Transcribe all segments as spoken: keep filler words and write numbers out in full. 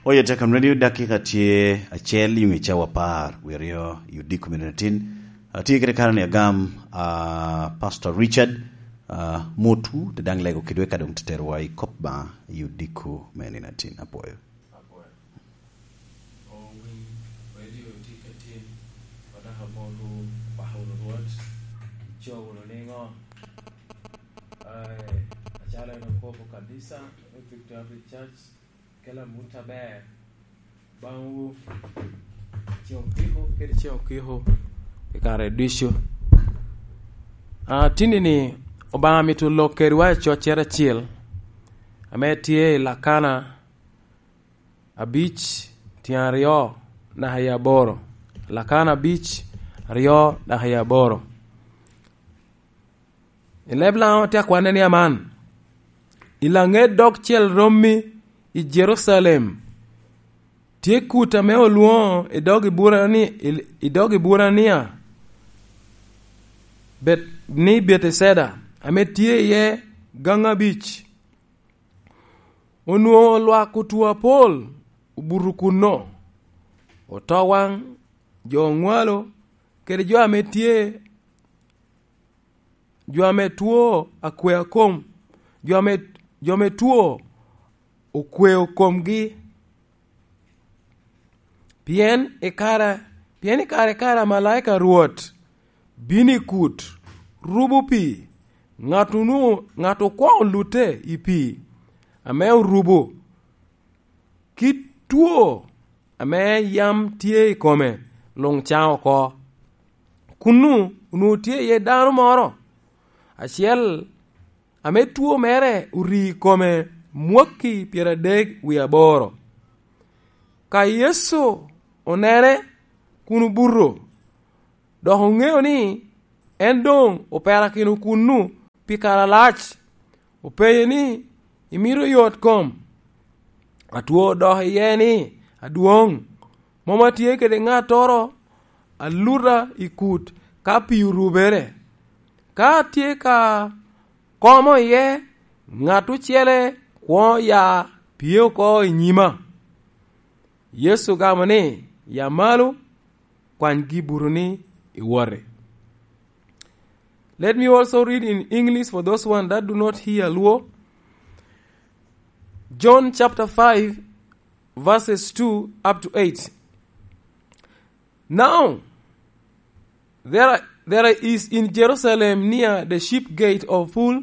Oye Tekam Radio, dakika tye acel i ŋe cawa apar wie aryo i odiko mene atin. Atye kede kare ni agam, a, Pastor Richard, a, Motu, te daŋ lego kedwa ka doŋ teterowa i kop ba i odiko mene atin. Apwoyo. Apwoyo. Owiny Radio tye ka tin, wadok amoto, pako wunu Rwot, ico wunu niŋo? Ai, acalo en okobo kanisa me Victory Baptist Church, kela mut aber baŋwu, ceŋ okiko kede ceŋ okiko i kare ducu. A, tinni-ni, Obaŋa mito lok kedwa i coccere acil, ame tye i Lakana abic, tyen aryo naka i aboro. Lakana abic, aryo naka i aboro. I leb Laŋo tye akwanne ni aman, i laŋet dogcel rommi i Jerucalem, tye kut ame olwoŋo i dog Iburani-, i, i dog Iburania, Bet-, ni Beteceda, ame tye iye gaŋ abic. Onwoŋo lwak otwo apol obuto kunno, otowaŋ, jo oŋwalo, kede jo ame tye, jo ame two akwea kom, jo ame, jo ame two okweo komgi. Pien i kare, pien i kare, kare amalaika a Rwot bino i kut, rubo pii, ŋat onwoŋo, ŋat okwoŋo lute i pii ame orubo, kit two ame yam tye i kome luŋ caŋ oko. Kunnu onwoŋo tye iye dano moro acel ame two mere ori i kome mwakki pyeradek wie aboro. Ka Yecu onene kun obuto, dok oŋeo ni en doŋ operakino kunnu pi kare alac, openye ni, "Imito yot kom?" Atwo odok iye ni, "Adwoŋ, mom atye kede ŋattoro aluta i kut ka pii orubere. Ka atye ka komo iye, ŋat ocele kwoŋo ya pye oko i nyima." Yecu ogamo ni, "Ya malo, kwany gibutoni iwoti." Let me also read in English for those one that do not hear Luo. John chapter five, verses two up to eight. Now, there, there is in Jerusalem near the sheep gate of Pool,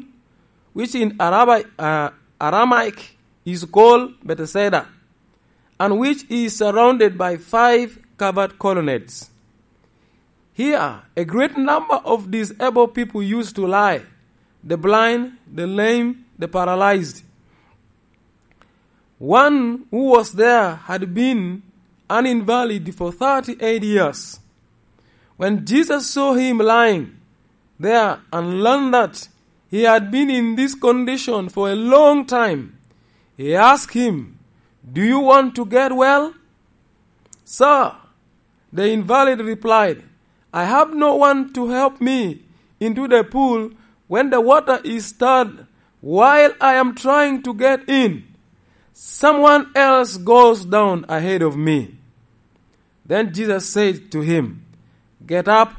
which in Araba-, uh, Aramaic is called Bethesda, and which is surrounded by five covered colonnades. Here, a great number of disabled people used to lie, the blind, the lame, the paralyzed. One who was there had been an invalid for thirty-eight years. When Jesus saw him lying there and learned that he had been in this condition for a long time, he asked him, "Do you want to get well?" "Sir," the invalid replied, "I have no one to help me into the pool when the water is stirred while I am trying to get in. Someone else goes down ahead of me." Then Jesus said to him, "Get up,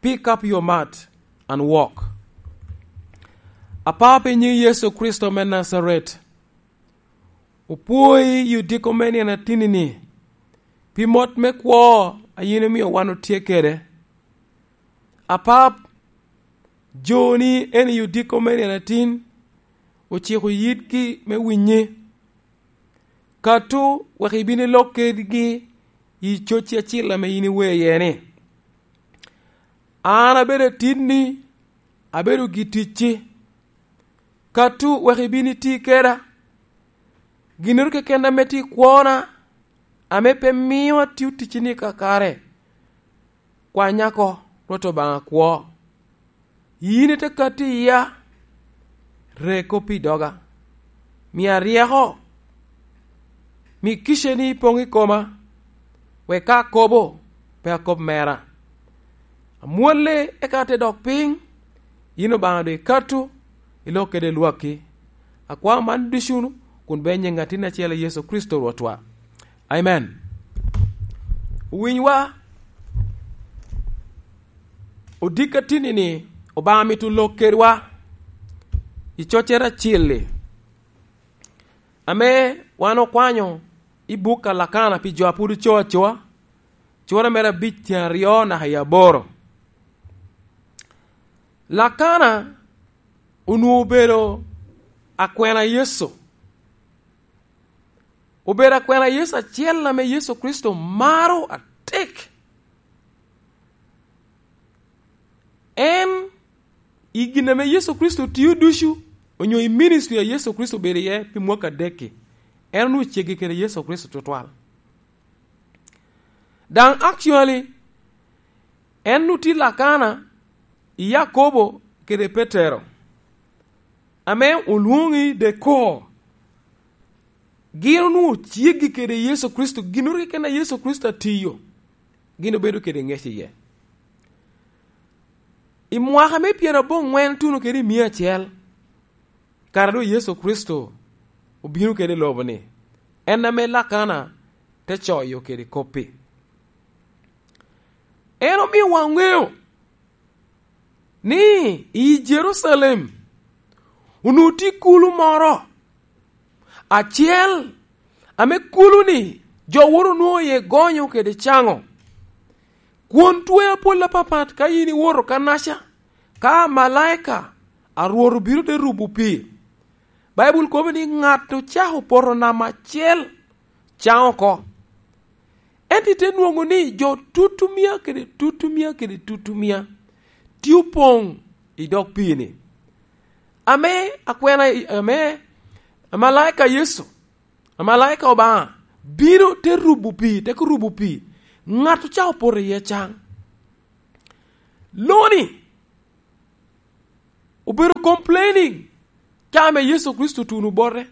pick up your mat, and walk." Apapa i nyiŋ Yecu Kricito me Najaret, opwoyi i odiko me nino atinni-ni, pi mot me kwo a yin omio wan otye kede. Apap, joni en i odiko me nino atin ociko yitgi me winyi. Kato wek ibin ilok kedgi i cocci acil ame yin iwee iye ni, "An abedo atinni, abedo giticci." Kato wek ibin iti keda. Ginnoro keken ame tye i kwona, ame pe mio atio ticci-ni kakare, kwanya oko, Rwot Obaŋa kwo. Yin ite katti iya, re kop i doga. Mia ryeko, mi kiceni poŋ i koma, wek ka akobo, pe akob mera. Amwolle, eka ate dok piny, yin Obaŋa doŋ ikato, ilok kede lwakki. Akwao man ducu kun bed i nyiŋ Atin acel, Yecu Kricito Rwotwa. Amen. Winywa, odiko atinni-ni, Obaŋa mito lok kedwa i coccere acil-li, ame wan okwanyo i buk a Lakana pi jo a pwod oco acoa, cura mere abic tyen aryo naka i aboro. Lakana onwoŋo obedo akwena Yecu. Obedo akwena Yecu acel ame Yecu Kricito maro atek. En, i gin ame Yecu Kricito tio ducu, onyo i ministry a Yecu Kricito obedo iye pi mwaka adek-ki, en onwoŋo ceggi kede Yecu Kricito tutwal. Daŋ actually, en otye Lakana i Yakobo kede Petero, ame olwoŋo ni the core. Gin onwoŋo ceggi kede Yecu Kricito, ginnoro keken a Yecu Kricito atio, gin obedo kede ŋec iye. I mwaka me pyeraboŋwen tuno kede i mia acel, kara doŋ Yecu Kricito obino kede i lobo-ni, en ame Lakana te coyo kede kop-pi. En omio waŋeo ni i Jerucalem onwoŋo tye kulu moro acel, ame kulu-ni jo woro onwoŋo iye gonyo kede caŋo. Kwon twer apol apapat ka yin iwoto kannaca, ka amalaika a Rwot obino te rubo pii. Baibul kobo ni ŋat ocako poto namba acel caŋ oko. Ento ite nwoŋo ni jo tutumia kede tutumia kede tutumia tye opoŋ i dog pii-ni. Ame akwena, ame amalaika Yecu, amalaika Obaŋa bino te rubo pii, te rubo pii, ŋat ocako poto iye caŋ. Loni obedo complaining ka ame Yecu Kricito otuno bote.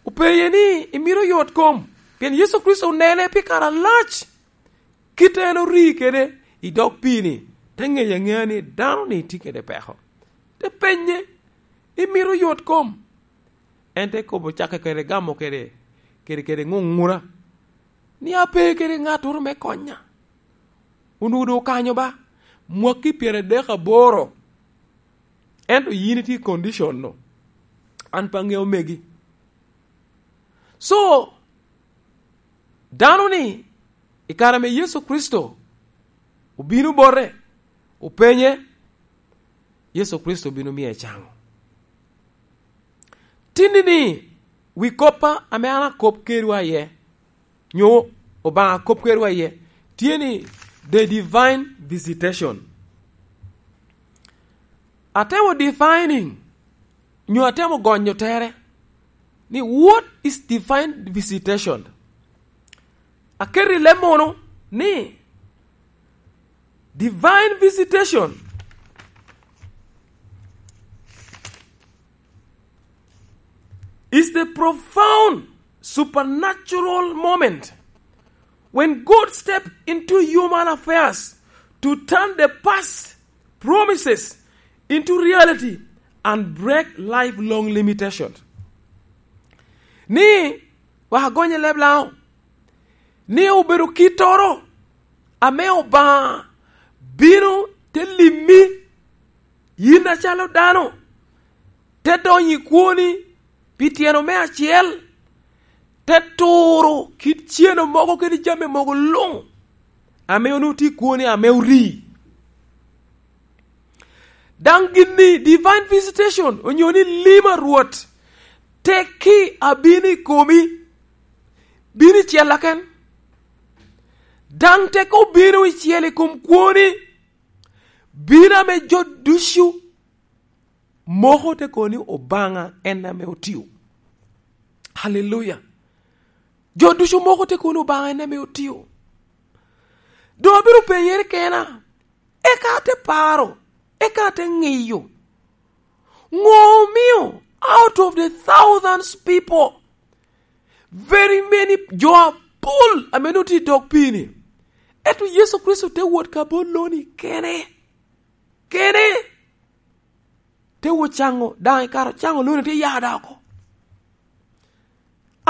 Opeye ni, "Imito yot kom?" Pien Yecu Kricito onene pi kare alac, kit en ori kede i dog pii-ni, te ŋeyo aŋea ni dano-ni tye kede peko. Te penye, "Imito yot kom?" En te kobo, cakke kede gamo kede, kede, kede ŋuŋura, ni, "Ape kede ŋattoro me konya." Onwoŋo doŋ okanyo ba, mwaki pyeradek aboro. Ento yin itye i condition-nu. An pe aŋeo megi. So, dano-ni, i kare ame Yecu Kricito obino bote, openye, Yecu Kricito obino miye caŋo. Tinni-ni, wi koppa ame an akop kedwa iye, nyo Obaŋa kop kedwa iye, tye ni the divine visitation. Atemo defining, nyo atemo gonyo tere, ni what is divine visitation? Aketo i leb munu ni divine visitation is the profound supernatural moment when God stepped into human affairs to turn the past promises into reality and break lifelong limitations. Ni, wek agonye leb Laŋo, ni obedo kittoro ame Obaŋa bino te limmi, yin acalo dano, te donyo i kwoni pi tyeno me acel, te turo kit ceno mogo kede jami mogo luŋ ame onwoŋo tye i kwoni ame orii. Daŋ gin-ni, divine visitation, onyo ni lim a Rwot, tekki abino i komi, bino i cella ken. Daŋ tekki obino i cel i kom kwoni, bino ame jo ducu moko te kono ni Obaŋa en ame otio. Haleluya! Jo ducu moko te kono ni Obaŋa en ame otio. Doŋ abino penyere kena, eka ate paro, eka ate ŋeyo, ŋo omio out of the thousands people, very many, jo apol ame nwoŋo tye i dog pii-ni, ento Yecu Kricito te wot ka bot loni kene, kene, te wot caŋo, daŋ i kare ocaŋo loni te ya da oko.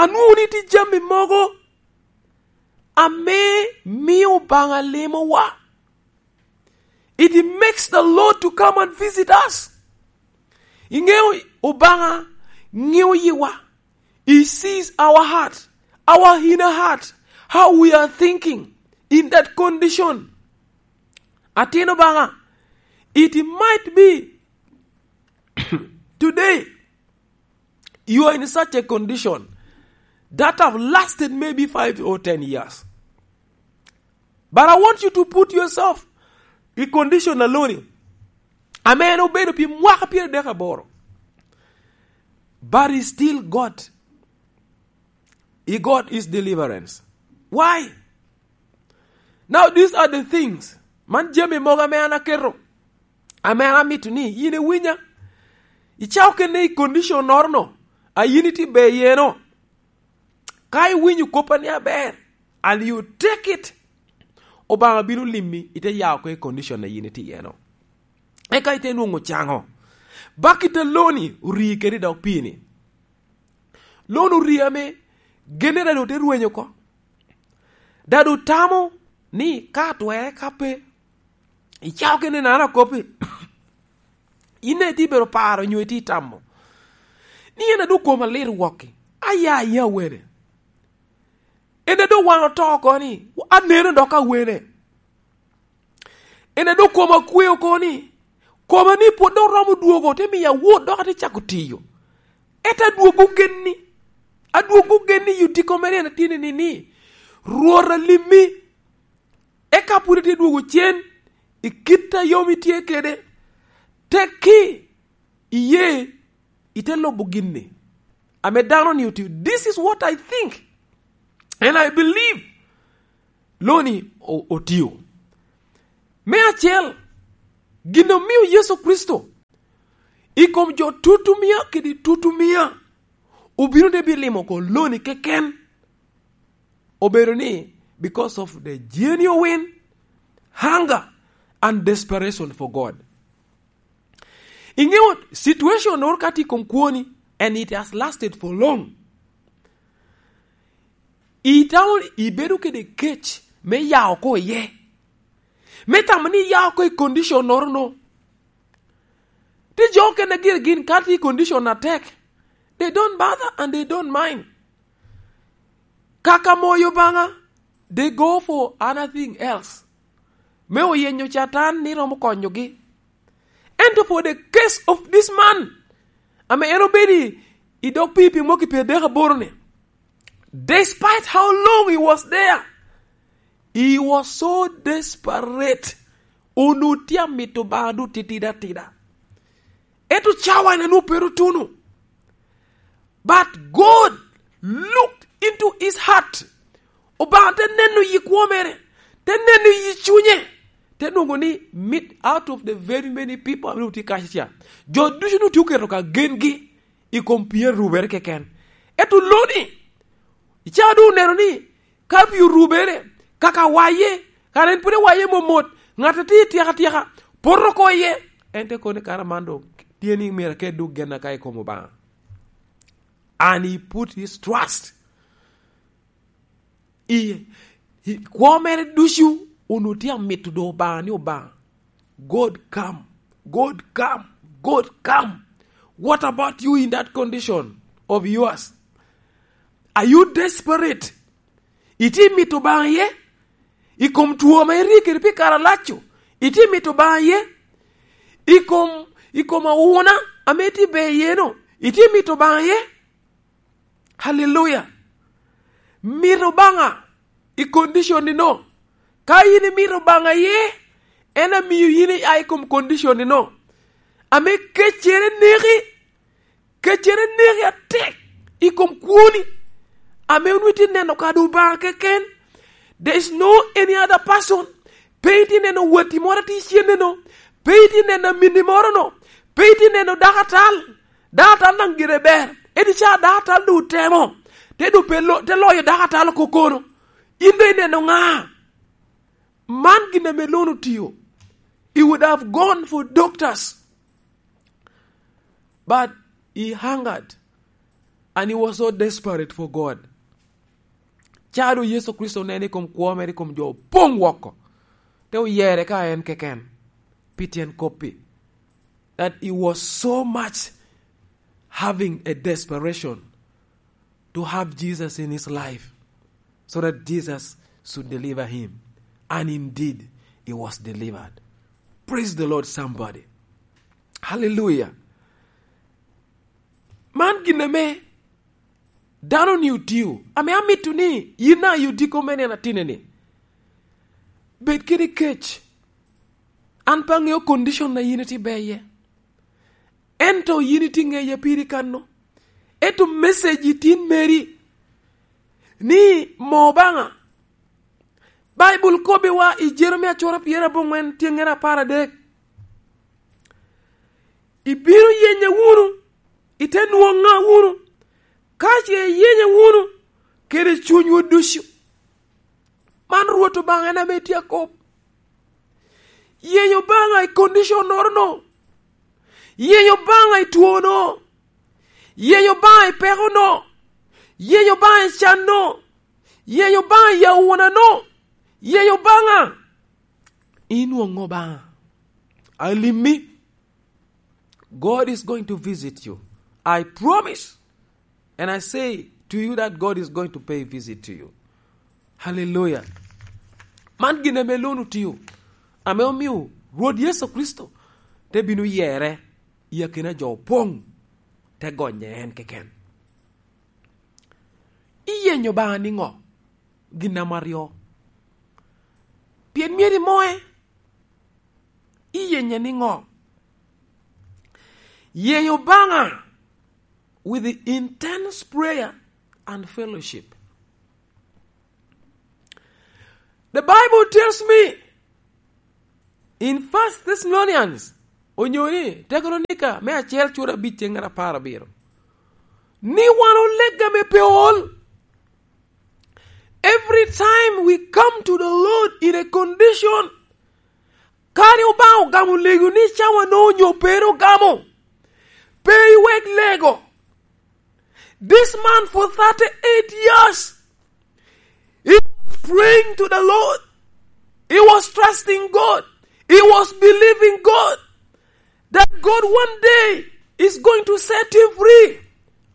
Anwoŋo ni tye jami mogo ame mio Obaŋa limowa. It makes the Lord to come and visit us. Iŋeo Obaŋa ŋeo yiwa. He sees our heart, our inner heart, how we are thinking in that condition. Atin Obaŋa, it might be today you are in such a condition that have lasted maybe five or ten years. But I want you to put yourself in condition alone. Ame en obedo pi mwaka pyeradek aboro. But he still got, he got his deliverance. Why? Now these are the things. Man jami mogo ame an aketo. Ame an amito ni yin iwinya. Icako kene i condition norono. A yin itye ber yeno. Ka iwinyo koppa ni aber, and you take it, Obaŋa bino limmi, ite ya oko i condition a yin itye iyeno. Eka ite nwoŋo caŋo. Bak ite loni ori kede dog pii-ni. Lon ori ame genne dado te rwenyo oko. Dado tamo ni ka atwere ka pe, icako kene nano akoppi. In daŋ itye bedo paro nyo itye tamo ni en adwogo koma lit wokki. Aya, aya wene. En adwogo wan oto oko ni, aneno dok awene. En adwogo koma kwe oko ni, koma ni pwod dok romo dwogo, te miyo awot dok ate cako tiyo. Ento adwogo genni, adwogo genni i otiko mere en atye ni, ni, ni, Rwot alimmi. Eka pwod itye dwogo cen i kit a yom itye kede, tekki iye ite lubo ginni ame dano ni otio. This is what I think and I believe loni o-, otio. Me acel, gin omio Yecu Kricito i kom jo tutumia kede tutumia obino te bilimo oko loni keken. Obedo ni, because of the genuine hunger and desperation for God. Iŋeo situation noro ka tye i kom kwoni, and it has lasted for long. Itamo ibedo kede kec me ya oko iye. Me tamo ni ya oko i condition noro no. Tye jo okene gire gin ka tye i condition atek. They don't bother and they don't mind. Kaka moyo Obaŋa, they go for anything else. Me oyenyo Catan ni romo konyogi. Ento for the case of this man, ame en obedo i, i dog pii pi mwaki pyeradek aboro ni, despite how long he was there, he was so desperate. Onwoŋo tye amito Obaŋa doŋ titidi atida. Ento cawa en onwoŋo pe ru tuno. But God looked into his heart. Obaŋa te neno yi kwo mere, te neno yi cunye, te nwoŋo ni, meet out of the very many people ame otye kaca ca, jo ducu onwoŋo tye oketo ka gengi i kom pii a rubere keken. Ento loni, icaa doŋ oneno ni, ka pii orubere, kaka waye, kara en pwod ewaye momot, ŋat a tye i tyeka tyeka, poto oko iye. En te kono ni, kara man doŋ tye ni myero aket doŋ genna ka i kom Obaŋa. And he put his trust i, i kwo mere ducu, onwoŋo tye amito doŋ Obaŋa ni, Obaŋa, God come, God come, God come. What about you in that condition of yours? Are you desperate? Itye mito Obaŋa iye? I kom two ame irie kede pi kare alac-cu, itye mito Obaŋa iye? I kom, i kom awuna ame itye ber iye-nu, itye mito Obaŋa iye? Haleluya! Mito Obaŋa i condition-ni no. Ka yin imito Obaŋa iye, en amio yin ia i kom condition-ni no. Ame keccere neki, keccere neki atek i kom kwoni, ame onwoŋo itye neno kadi Obaŋa keken. There is no any other person. Pe itye neno watti moro atye icenne-no. Pe itye neno aminni moro-no. Pe itye neno dako atal. Dako atal daŋ gire ber. Ento ca dako atal doŋ otemo, te doŋ pe lo-, te loyo dako atal oko kono. In doŋ ineno ŋa? Man gin ame Lon otio. He would have gone for doctors. But he hungered. And he was so desperate for God. Ca doŋ Yecu Kricito oneno i kom kwo mere, i kom jo opoŋ woko, te oyere ka en keken, pi tyen kop-pi, that he was so much having a desperation to have Jesus in his life, so that Jesus should deliver him. And indeed, he was delivered. Praise the Lord, somebody. Hallelujah. Man gin ame dano-ni otio, ame amito ni yin a i odiko me nino atinni, bed kede kec. An pe aŋeo condition a yin itye iye. Ento yin itye iŋeya piri kanno. Ento message tin meri ni mo Obaŋa. Baibul kobbiwa i Jeremia cura pyerabongwen tyeŋŋere apar adek, "Ibino yenya wunu, ite nwoŋa wunu, ka ce iyenya wunu kede cunywu ducu." Man Rwot Obaŋa en ame tye akop. Yeny Obaŋa i condition-nono. Yeny Obaŋa i twono. Yeny Obaŋa i pekono. Yeny Obaŋa i canno. Yeny Obaŋa i awunano. Yeny Obaŋa. Inwoŋo Obaŋa. Alimmi. God is going to visit you. I promise. And I say to you that God is going to pay visit to you. Hallelujah. Man gin ame Lon otio, ame omio Rwot Yecu Kricito te bino yere i akina jo opoŋ, te gonye en keken. Iyenyo Obaŋa niŋo? Gin ame aryo. Pien myero imoe. Iyenye niŋo? Yeny Obaŋa with the intense prayer and fellowship. The Bible tells me in First Thessalonians, onyo ni Tecalonika me acel cura abic tyeŋŋere apar abiro, ni wan olega me pe ol. Every time we come to the Lord in a condition, kadi Obaŋa ogamo lego ni cawa no onyo pere ogamo, pe iwek lego. This man for thirty-eight years, he was praying to the Lord. He was trusting God. He was believing God that God one day is going to set him free.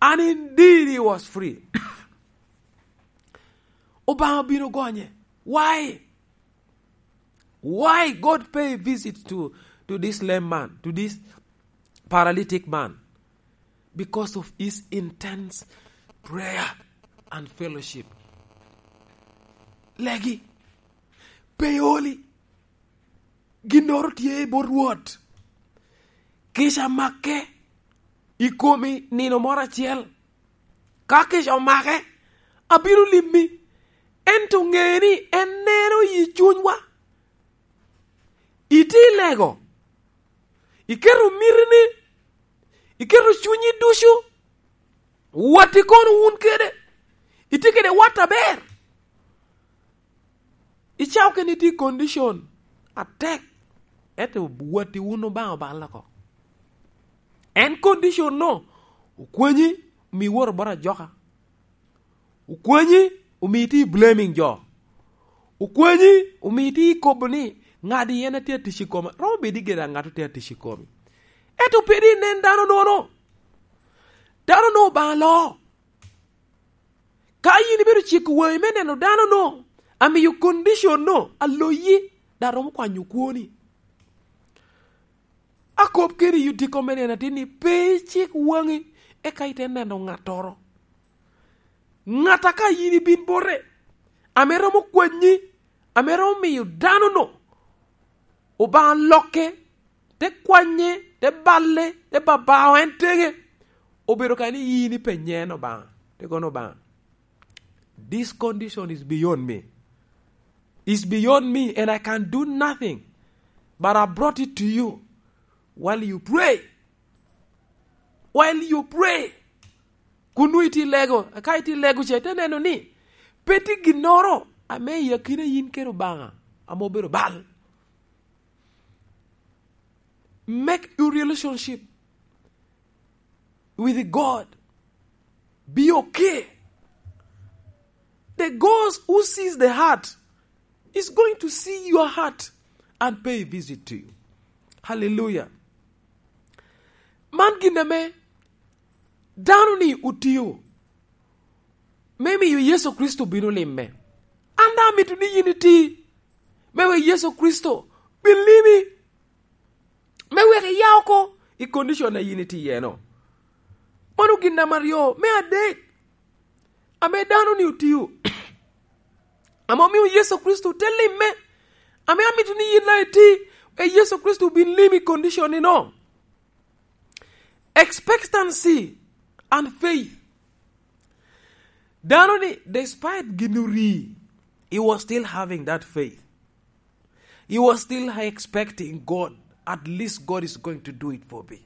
And indeed he was free. Obaŋa obino gonye. Why? Why God pay visit to, to this lame man, to this paralytic man? Because of his intense prayer and fellowship. Legi, pe oli, ginnoro tye i bot Rwot. Kica make i komi nino moro acel. Ka kica omake, abino limmi. Ento ŋe ni en neno i cunywa. Itye i lego, iketo mitini, iketo cunyi ducu, watti kono wun kede, itye kede wat aber. Icako kene itye i condition atek, ento watti wun Obaŋa oballe oko. En condition-no okwanyi, omi iwot bot ajoka. Okwanyi, omi itye i blaming jo. Okwanyi, omi itye i kobo ni, "Ŋadi en a tye atic i koma." Romo bedo i geda ŋat a tye atic i komi. Ento pe di inen dano nono. Dano no Obaŋa loo. Ka yin ibedo ciko waŋi me neno dano no, amiyo condition no aloyi, dok romo kwanyo kwoni. Akop kede i odiko me nino atin ni pe icik waŋi, eka ite neno ŋattoro. Ŋat a ka yin ibin bote, ame romo kwanyi, ame romo miyo dano no, Obaŋa lokke, te kwanye, te balle, te babao en teŋe. Obedo ka ni yin ipenye en Obaŋa, te kono Obaŋa, "This condition is beyond me. It's beyond me and I can do nothing. But I brought it to you. While you pray, while you pray," kun nwoŋo itye i lego, ka itye i lego ce, ite neno ni pe tye ginnoro ame i akina yin kede Obaŋa ame obedo bal. Make your relationship with God Be okay. The God who sees the heart is going to see your heart and pay a visit to you. Hallelujah. Man gin ame dano-ni otio me miyo Yecu Kricito bino limme. An daŋ amito ni yin iti me wek Yecu Kricito bin limi, me wek iya oko i condition a yin itye iye-no. Mano gin namba aryo. Me adek, ame dano-ni otio, ame omio Yecu Kricito te limme, ame amito ni yin daŋ iti, e Yecu Kricito bin limi i condition-ni-no. Expectancy and faith. Dano-ni, despite gin ori, he was still having that faith. He was still expecting God. At least God is going to do it for me.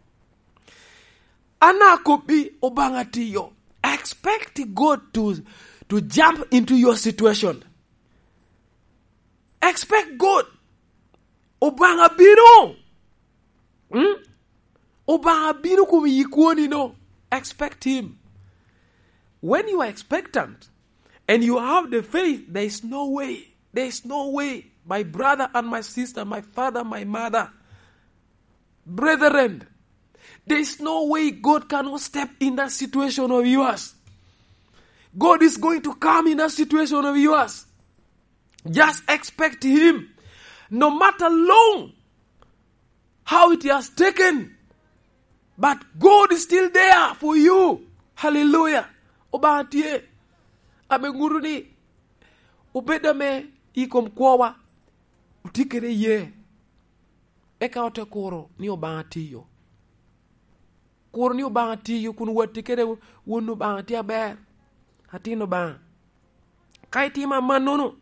An akobbi, Obaŋa tiyo. Expect God to, to jump into your situation. Expect God. Obaŋa bino. Hmm? Obaŋa bino kom yi kwoni-no. Expect him. When you are expectant and you have the faith, there is no way. There is no way. My brother and my sister, my father, my mother, brethren, there is no way God cannot step in that situation of yours. God is going to come in that situation of yours. Just expect him. No matter long how it has taken, but God is still there for you. Hallelujah. Obaŋa tye. Ame ŋuto ni, obed ame i kom kwowa, oti kede ye. Eka ote kuro ni Obaŋa tiyo. Kuro ni Obaŋa tiyo kun watti kede won Obaŋa tye aber. Atin Obaŋa. Ka itimo amannono,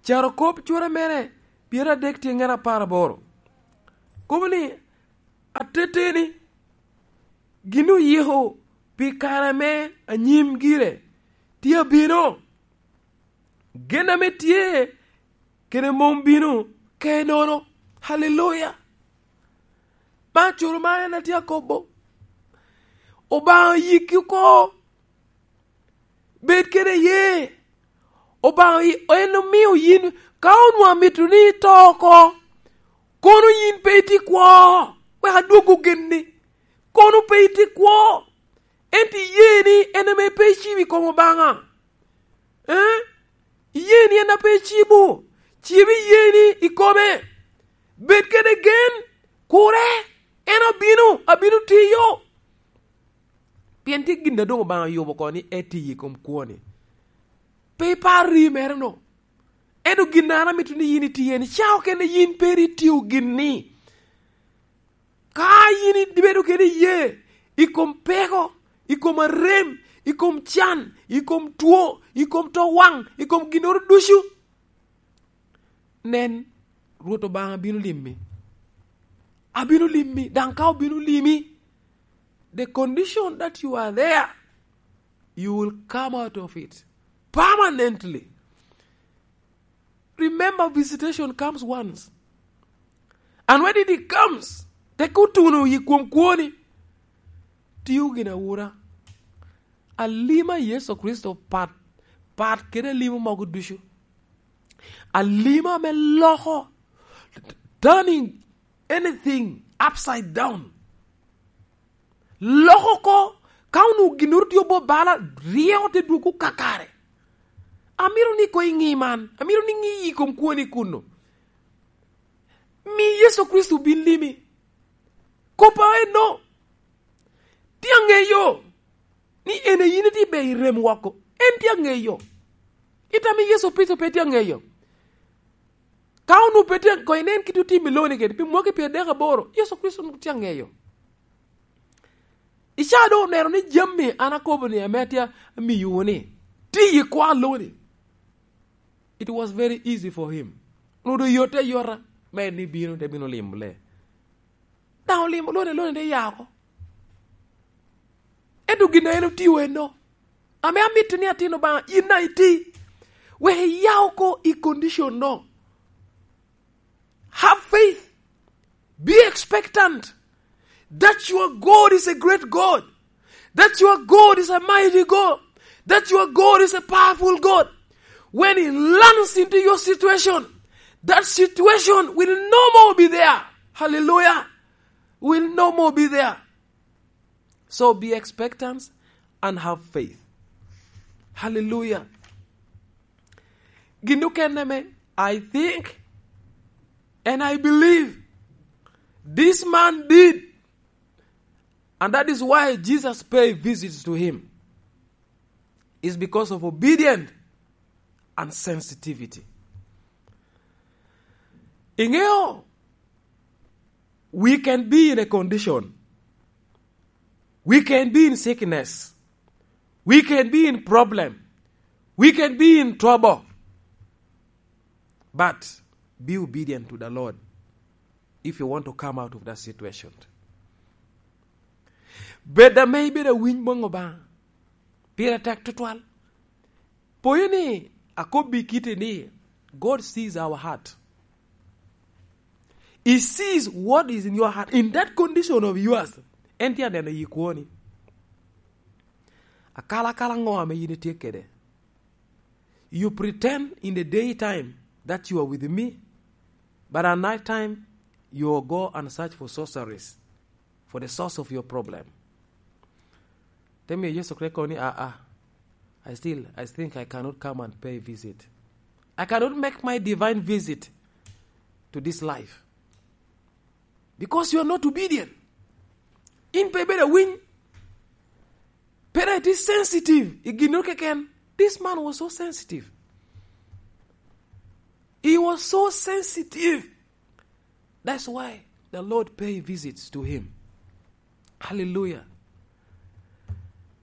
Carokop cura mere pyeradek tye ŋen apar aboro. Kobo ni, ateteni, gin oyiko pi kare me anyim gire tye abino. Gen ame tye kede mom bino ke nono. Haleluya! Ma curo ma en atye akobo. Obaŋa yikki oko. Bed kede ye. Obaŋa i-, en omio yin, ka onwoŋo amito ni ito oko, kono yin pe itye kwo, wek adwoggo genni. Kono pe itye kwo, ento iye ni en ame pe icibo i kom Obaŋa. Eh? Iye ni en ape icibo, cibi iye ni i kome. Bed kede gen, kure, en obino, abino tiyo. Pien tye gin a doŋ Obaŋa oyubo oko ni etiyo i kom kwoni. Pe ipar ri mere-no. Ento gin a an amito ni yin itiye ni, ca okene yin pe ri tio gin-ni. Ka yin ibedo kede iye i kom peko, i kom arem, i kom can, i kom two, i kom to waŋ, i kom ginnoro ducu, nen, Rwot Obaŋa bino limi. Abino limi, daŋ ka obino limi, the condition that you are there, you will come out of it permanently. Remember, visitation comes once. And when it comes, tek otuno i kom kwoni, tio gin awura. Alima Yecu Kricito pat, pat kede alimo mogo ducu. Alima ame loko, turning anything upside down. Loko oko, ka onwoŋo ginnoro tye obo bala, ryeko te dwogo kakare. Amito ni koŋ iŋi man, amito ni iŋi i kom kwoni kuno. Mi Yecu Kricito bin limi. Kop a enno, tye aŋeyo ni en a yin itye ber i rem woko. En tye aŋeyo. Itamo ni Yecu Kricito pe tye aŋeyo? Ka onwoŋo pe tye, koŋ inen kit otim i loni kede, pi mwaki pyeradek aboro, Yecu Kricito onwoŋo tye aŋeyo. Ica doŋ oneno ni jami an akobo ni ame atye amiyowu ni, tye i kwo a loni. It was very easy for him. Onwoŋo doŋ yotte ayota, me en ni bino, te bino limo lee. Daŋ olimo loni, loni te ya oko. Ento gin a en otio enno, ame amito ni atin Obaŋa, yin daŋ iti, wek iya oko i condition-no. Have faith. Be expectant that your God is a great God. That your God is a mighty God. That your God is a powerful God. When He lands into your situation, that situation will no more be there. Hallelujah. Will no more be there. So be expectant and have faith. Hallelujah. Gin okene me, I think and I believe this man did. And that is why Jesus paid visits to him. It's because of obedience and sensitivity. Iŋeo, we can be in a condition. We can be in sickness. We can be in problem. We can be in trouble. But be obedient to the Lord if you want to come out of that situation. Bed ame ibedo awiny boŋ Obaŋa. Pire tek tutwal. Poyo ni akobbi kite ni, God sees our heart. He sees what is in your heart. In that condition of yours, en tye aneno yi kwoni. Akala akala ŋo ame yin itye kede? You pretend in the daytime that you are with me, but at night time you go and search for sorceries, for the source of your problem. Tell me, Yesu Kristo ni, "Ah, ah, I still, I think I cannot come and pay visit. I cannot make my divine visit to this life." Because you are not obedient. In pe ibedo awiny. Pe iti sensitive i ginnoro keken. This man was so sensitive. He was so sensitive. That's why the Lord pay visits to him. Hallelujah.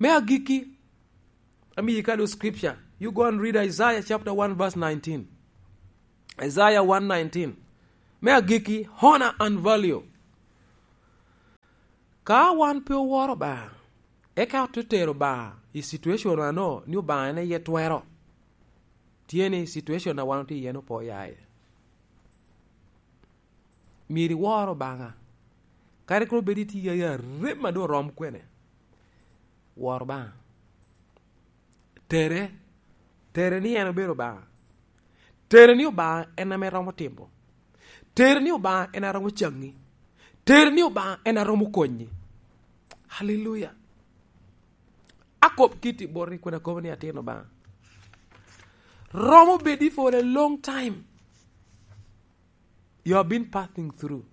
Me agikki, amiyi kado scripture. You go and read Isaiah chapter one verse nineteen. Isaiah one nineteen. Me agikki, honor and value. Ka wan pe oworo Obaŋa, eka ote tero Obaŋa i situation ano ni Obaŋa en aye twero. Tye ni situation a wan otye iye-nu pe oya iye. Myero iwor Obaŋa. Kadi kono bed itye i arem a doŋ orom kwene. Wor Obaŋa. Tere. Tere ni en obedo Obaŋa. Tere ni Obaŋa en ame romo timo. Tere ni Obaŋa en a romo caŋi. Tere ni Obaŋa en a romo konyi. Hallelujah. Akop kiti boti kun akobo ni atin Obaŋa. Romo bedi for a long time. You have been passing through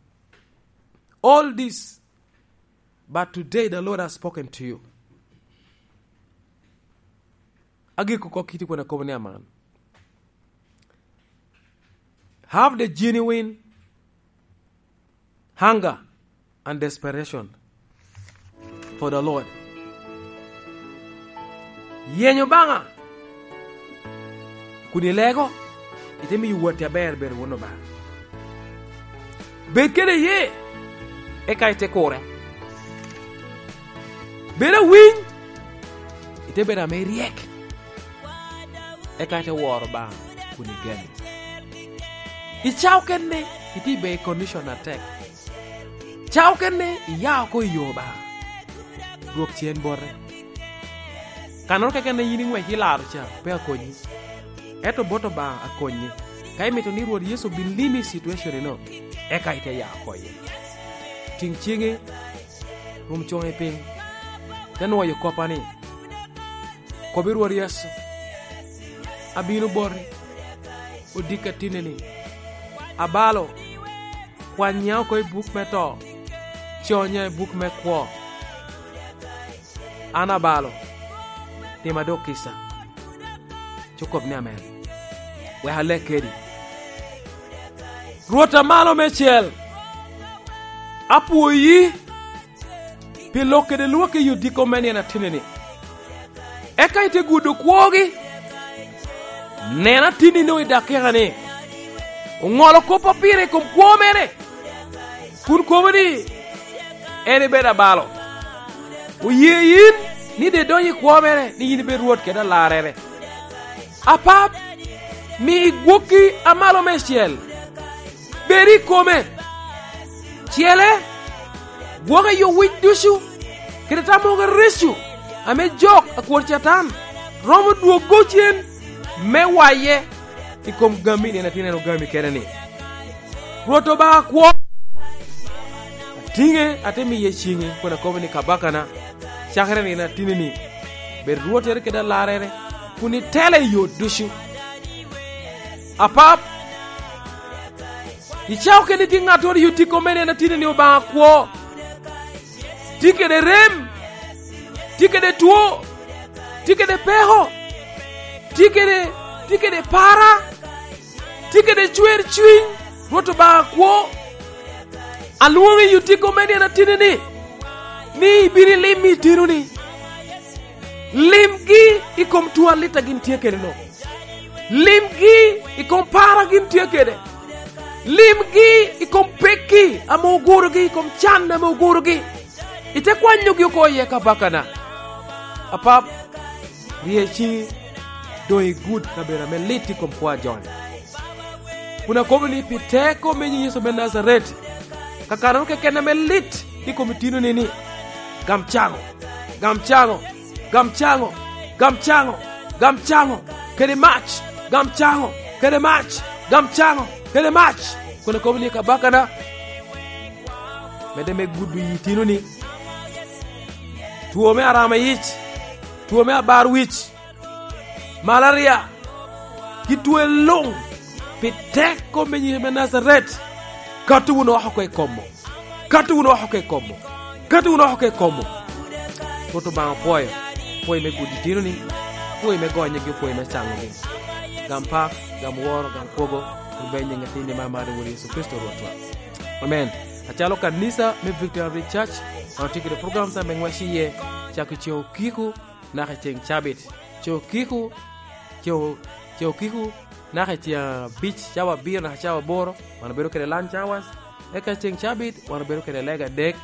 all this, but today the Lord has spoken to you. Agiko kok kiti kun akobo ni aman. Have the genuine hunger and desperation for the Lord. Yeny Obaŋa kun ilego, ite miyo watti aber bedo won Obaŋa. Bed kede ye, eka ite kure. Bed awiny, ite bedo ame iryek. Eka ite woro Obaŋa kun igeno. I cawa okene, itye i condition atek. Cawa okene, iya oko i yo Obaŋa. Dwok cen bote. Kannoro keken a yin iŋwec ilaro ca, pe akonyi. Ento bot Obaŋa akonyi. Ka imito ni Rwot Yecu obin limi i situation eno, eka ite ya oko iye. Tiŋ ciŋi, rum coŋi piny, te nwoyo koppa ni, Kobi Rwot Yecu, abino boti, odikka tineni. Abalo, kwanya oko i buk me to, conya i buk me kwo. An abalo, tima dok kica. Ci okob ni amen. Wek alek kedi. Rwot a malo meicel, apwoyi pi lok kede lwak i odiko me nino atinni-ni. Eka ite gudo kwogi. Nen atinni-nu i dakika-ni. Oŋolo kop a pire i kom kwo mere, kun kobo ni, en ibedo abalo. Oye yin ni de idonyo i kwo mere, ni yin ibed Rwot kede alarrere. Apap, mi gwokki a malo meicel bed i kome. Cele, gwoke i owic ducu, kede tammogo reco, ame jok a kwor Catan romo dwoggo cen me waye i kom gami, nino atin en ogami kene ni, "Rwot Obaŋa kwo, atiŋe, ate miye ciŋi, kun akobo ni, 'Kabakana, cakere nino atinni, bed rwottere kede alarrere, kun itela i yo ducu.'" Apap, icako keni tye ŋattoro i otiko me nino atinni, Obaŋa kwo, tye kede rem, tye kede two, tye kede peko, tye kede, tye kede para, tye kede cwer cuny, Rwot Obaŋa kwo. Alwoŋi i otiko me nino atinni, ni ibino ilim i itino-ni. Limgi i kom two alit a gin tye kede-no. Limgi i kom paro a gin tye kede. Limgi i kom pekki ame ogurogi, i kom can ame ogurogi. Ite kwanyogi oko iye, Kabakana. Apap, rye ciŋi, doŋ igud kabedo ame lit i kom kwo a jo-ni. Kun akobo ni, pi teko me nyiŋ Yecu me Najaret, kakano keken ame lit i kom itino-ni, ni, gam caŋo, gam caŋo, gam caŋo, gam caŋo, gam caŋo, kede mac, gam caŋo, kede mac, gam caŋo, kede mac. Kun akobo ni, Kabakana, medde me gudo i itino-ni, two me arama yic, two me abar wic, malaria, ki twe luŋ, pi teko me nyiŋ me Najaret, kati wunu oko i kom-mo, kati wunu oko i kom-mo, kati wunu oko i kom-mo. Rwot Obaŋa opwoyo, pwoyo me gudi tino-ni, pwoyo me gonyogi, pwoyo me caŋogi. Gam pak, gam woro, gam kwogo, kun bed i nyiŋ Atinni me amaro, Wod Yecu Kricito Rwotwa. Amen. Acalo kanisa me Victory Church, wan otye kede program sa me ŋwec iye, cako i ceŋ okiko, naka i ceŋ cabit. Ceŋ okiko, ceŋ o-, ceŋ okiko, naka i ceŋ abic, cawa abiro naka cawa aboro, wan obedo kede lunch hours. Eka ceŋ cabit, wan obedo kede lega adek,